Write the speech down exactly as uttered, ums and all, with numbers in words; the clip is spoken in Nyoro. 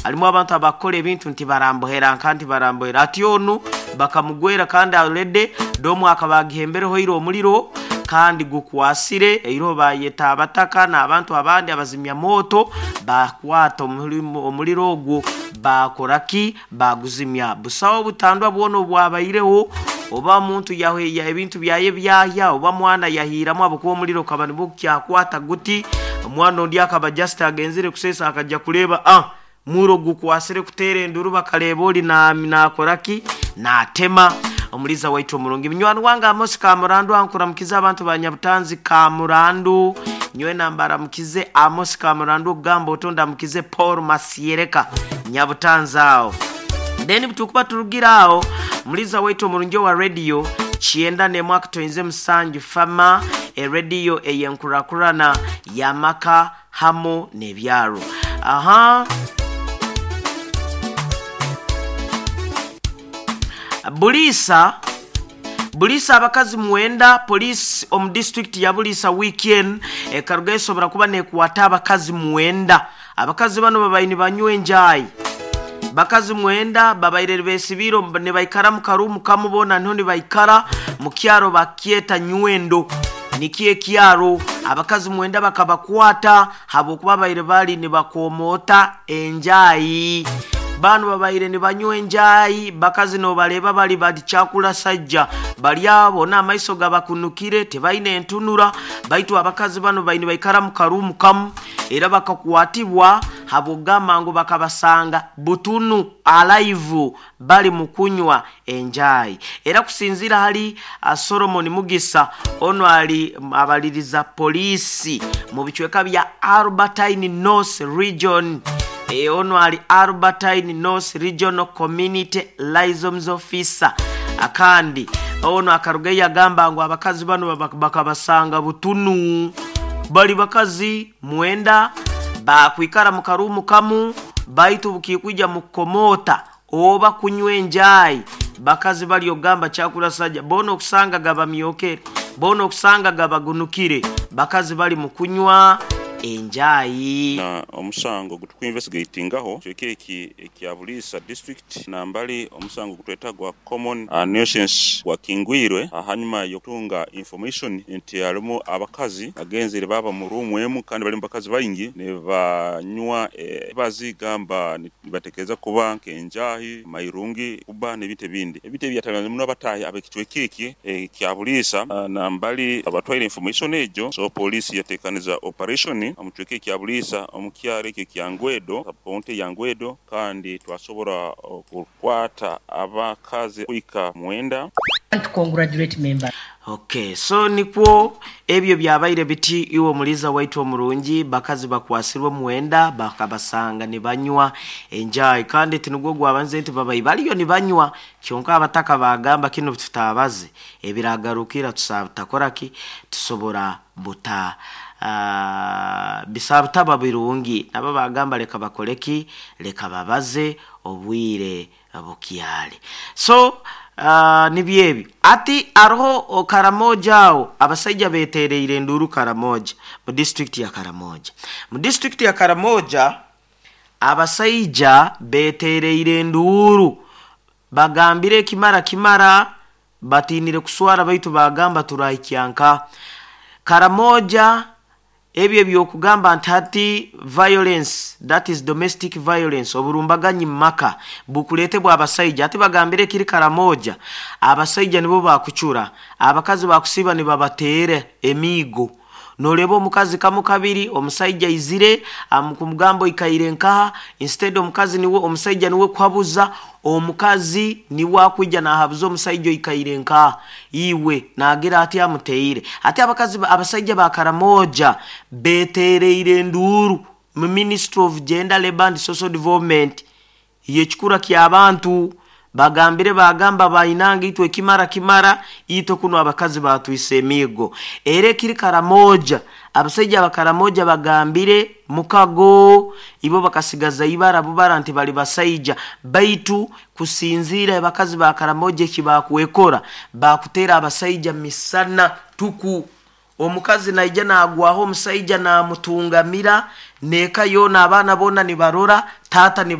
Harimu abantu abakora ebintu nti barambohera nka nti barambohera ati onu bakamugwera kandi already domu akabagihembereho iro omuliro kandi gukwasire eiro bayeta abataka n'abantu abandi abazimya moto bakwata omuliro ogwo bakoraki baguzimya. Busawo butandwa bwono bwabaireho oba muntu yahe ya ebintu byaye byahya oba mwana yahiramu abukuba omuliro kaba nibukyakwata guti omwana ondi akaba just agenzire kusesa akajja kuleba ah muro gukwasire kutere enduru bakaleba oli na nakoraki natema. Omuliza waitu omurungi minywani wange Amos Kamurandu ankuramukiza abantu ba Nyabutanzi Kamurandu nywe nambara mukize Amos Kamurandu ogamba otonda mukize Paul Masiereka Nyabutanzi awo. Then butukuba turugira awo muliza waitu omurungi wa radio chienda ne mwaka toinze musanju fama e radio eyenkurakurana yamaka hamo nebyaro. Aha Bulisa Bulisa abakazi mwenda police omu district ya Bulisa weekend e Karugeso barakuba ne kuwata abakazi mwenda. Abakazi bano babayini banywe enjayi. Bakazi mwenda babaire besibiro ne baikara mu karumu kamubona nho ne baikara mu kyaro bakieta nywendo nikiye kyaro. Abakazi mwenda bakabakwata habokuba baire bali ne bakomota enjayi. Bano babaire ne banywe enjayi bakazi no baleba bali badi chakula sajja bali abo na maiso gabakunukire tebaine entunura baitu abakazi bano baine baikara mu karumu kamu era bakakwatibwa habogama ngo bakabasanga butunu alive bali mukunywa enjayi. Era kusinzira hali Solomon Mugisa ono ali abaliriza polisi mu bichweka bya Albertine North Region. E ono ali Albertine North Regional Community Liaison Officer. Akandi ono akarugeya agamba ngo abakazi bano bakabasanga butunu bali bakazi mwenda bakwikara mu karumu kamu baitu bukikuja mukomota oba kunywa enjayi. Bakazi bali ogamba chakula saja bono okusanga gabamyokere bono okusanga gabagunukire bakazi bali mukunywa enjayi. Na omusango gutukuinvestigatingaho kyekeki ekya Bulisa district na mbali omusango gutweta gwa common uh, nuisance wa kingwirwe hanyuma yokutunga information nti alimu abakazi agenzere baba mu room emu kandi bali bakazi baingi ne banywa e, bazigamba nibatekereza kuba nkenjahi mairungi kuba nebite bindi ebite byatangaza muno abatahi abekicwekeki ekya Bulisa na mbali abatwaire information ejo. So police yatekaniza operation omucweke kya Bulisa omukyaro ekyo kya Ngwedo county ya Ngwedo kandi twasobora okukwata abakazi kuika mwenda. To congratulate member. Okay, so nikwo ebyo byabaire biti iwo muliza waitu omurungi bakazi bakwasirwe mwenda bakabasanga ne banywa enjayi kandi tinugwo gwabanze nti babayi baliyo ne banywa kyonka abataka bagamba kino tutabaze ebiragarukira tusabutakoraki tusobora buta Uh, bisabutaba birungi nabo bagamba leka bakoleki leka babaze obwire bukyali. So uh, nibyebi ati aroho Karamoja awo abasajja betereire enduru Karamoja mu district ya Karamoja mu district ya Karamoja abasajja betereire enduru bagambire kimara kimara batinire kuswara baitu bagamba turahikyanka Karamoja. Ebyo byokugamba nti violence, that is domestic violence, oburumbaganyi maka bukulete bwa abasajja ati bagambire kiri Karamoja abasajja nibo bakuchura abakazi bakusiba ni babatere emigo. Nolebo omukazi kamu kabiri omusajja izire amukumugambo ikaire nkaha instead omukazi niwe omusajja niwe kwabuza omukazi niwe akwijja nahabuza omusajja ikaire nkaha iwe nagira ati amuteire ati abakazi abasajja ba Karamoja betereire nduru mu Ministry of Gender, Labor and Social Development yekikura ky'abantu bagambire bagamba bayinanga itwe kimara kimara ito kuno abakazi batwise emigo. Ere kiri Karamoja abasajja bakaramoja bagambire mukago ibo bakasigaza ibara bubara nti bali basaija baitu kusinzira abakazi bakaramoja kibakuwekora bakutera abasaija misana tuku. Omukazi naija nagwaho omusaija namutungamira neka yona abaana bona nibarora tata niba